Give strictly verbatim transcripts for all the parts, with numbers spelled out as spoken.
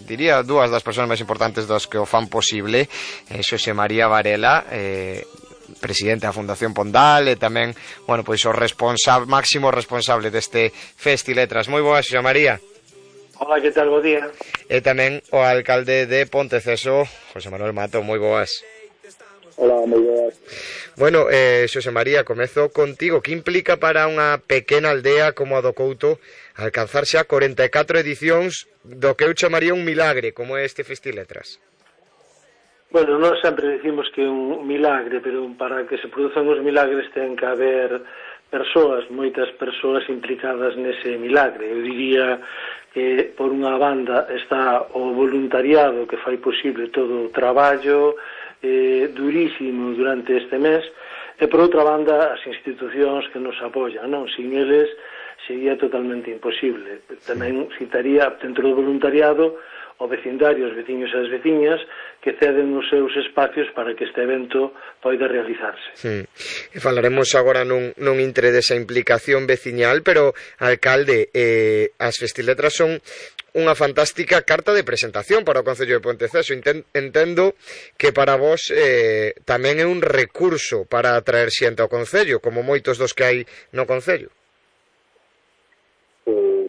Diría dúas das persoas máis importantes das que o fan posible, eh, Xosé María Varela, eh, presidente da Fundación Pondal, e tamén, bueno, pois o responsable, máximo responsable deste Festiletras. Moi boas, Xosé María. Hola, que tal? Bo día. E tamén o alcalde de Ponteceso, José Manuel Mato. Moi boas. Hola, moi boas. Bueno, eh, Xosé María, comezo contigo. Que implica para unha pequena aldea como a do Couto alcanzar xa corenta e catro edicións do que eu chamaría un milagre, como é este Festiletras? Bueno, nós sempre decimos que é un milagre, pero para que se produzan os milagres ten que haber persoas, moitas persoas implicadas nese milagre. Eu diría que por unha banda está o voluntariado que fai posible todo o traballo eh, durísimo durante este mes, e por outra banda as institucións que nos apoian, non? Sin eles sería totalmente imposible. Tamén citaría dentro do voluntariado o vecindario, os veciños e as veciñas que ceden os seus espacios para que este evento poida realizarse. Sí. E falaremos agora nun, nun intre desa implicación veciñal, pero, alcalde, eh, as Festiletras son unha fantástica carta de presentación para o Concello de Ponteceso. Entendo que para vos eh, tamén é un recurso para atraer xente ao Concello, como moitos dos que hai no Concello. Eh,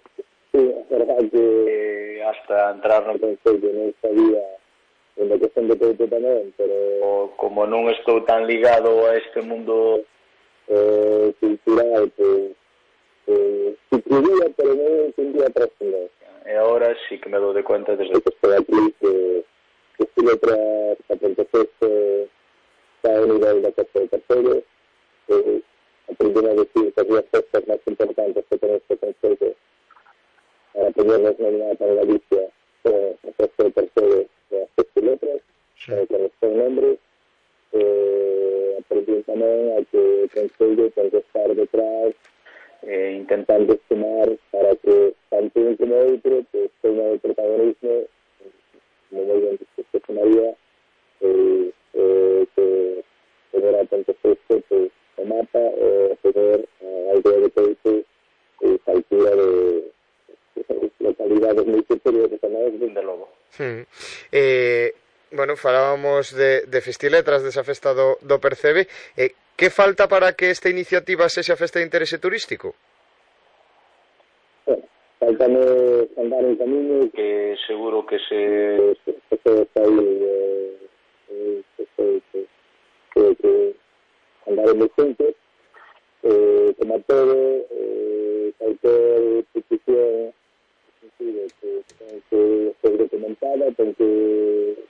sí, é verdade que hasta entrar no Concello non sabía en a cuestión de Couto tamén, pero como non estou tan ligado a este mundo eh, cultural, pues, eh, si quería, pero non entendía a trascendencia. E agora sí que me dou de cuenta desde que estou aquí que que si letras a Ponteceso está a nivel da Costa de Terceiro, eh, aprendendo a decir que as dúas festas máis importantes que ten este Concello para ponernos nominada para Galicia son a Costa de Terceiro e as Festiletras, sí, que responde o nombre. Eh, aprendendo tamén a que o Concello ten que estar detrás eh, intentando sumar para que tanto un como outro pues, tenga o protagonismo, como moi ben dixo María, eh, eh, que tener a Ponteceso pues, o mapa e tener a aldea de Couto e a altura de, de localidades moi superiores tamén, desde logo. Hmm. Eh, bueno, falábamos de, de Festiletras, desa festa do, do Percebe. Eh, que falta para que esta iniciativa sexa festa de interese turístico? Bueno, faltame andar en camiño que seguro que se que se está aí eh, eh, que, que, que, que andaremos juntos eh, como todo eh, cualquier petición sentido que ten que ser documentada, ten que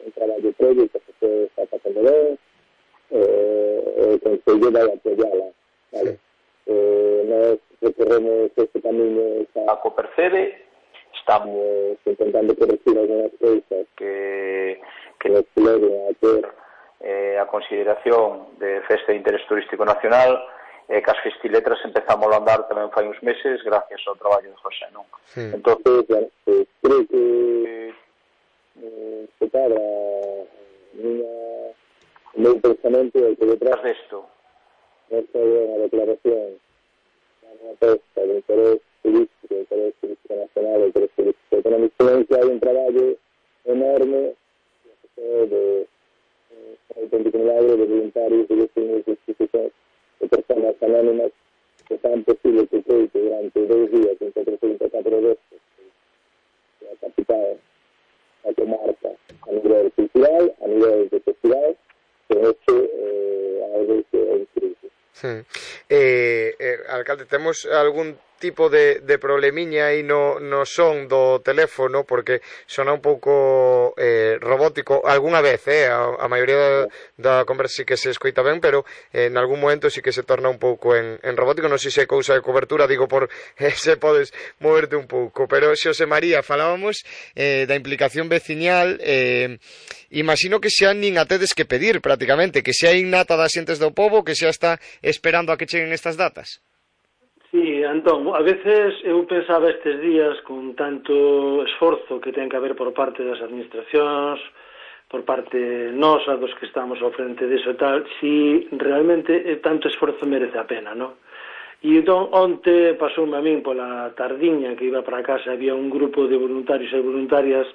un traballo previo que se está facendo ben, eh, o Concello vai apoiala, vale? Eh, nós recorremos este camiño a Copercebe, estamos intentando corregir algunas cousas que, que nos leven a ter eh, a consideración de festa de interés turístico nacional, e eh, que as Festiletras empezamos a andar tamén fai uns meses gracias ao traballo de José, non? Sí. Entonces, bueno, pues, creo que eh, se para o meu pensamento é que detrás desto esta é unha declaración unha festa de interés turístico, de interés turístico nacional, de interés turístico económico, que hai un traballo enorme de un auténtico milagre de voluntarios, de vecinos, de institucións, de personas anónimas que fan posible que Couto durante dois días, en cuatrocentos e catro veces, que a capital, a comarca, a nivel cultural, a nivel de festival, que hecho eh, algo que é increíble. Sí. Eh, eh, alcalde, temos algún tipo de, de problemiña aí no, no son do teléfono, porque sona un pouco eh, robótico algunha vez, eh, a, a maioría da, da conversa sí que se escoita ben, pero eh, en algún momento sí que se torna un pouco en, en robótico. Non sei se é cousa de cobertura, digo por eh, se podes moverte un pouco. Pero, Xosé María, falábamos eh, da implicación veciñal, eh, imagino que xa nin a tedes que pedir prácticamente, que xa innata das xentes do pobo, que xa está esperando a que cheguen estas datas. Sí, Antón, a veces eu pensaba estes días con tanto esforzo que ten que haber por parte das administracións, por parte nosa, dos que estamos ao frente diso e tal, si realmente tanto esforzo merece a pena, non? E entón, onte pasoume a min pola tardiña que iba para casa, había un grupo de voluntarios e voluntarias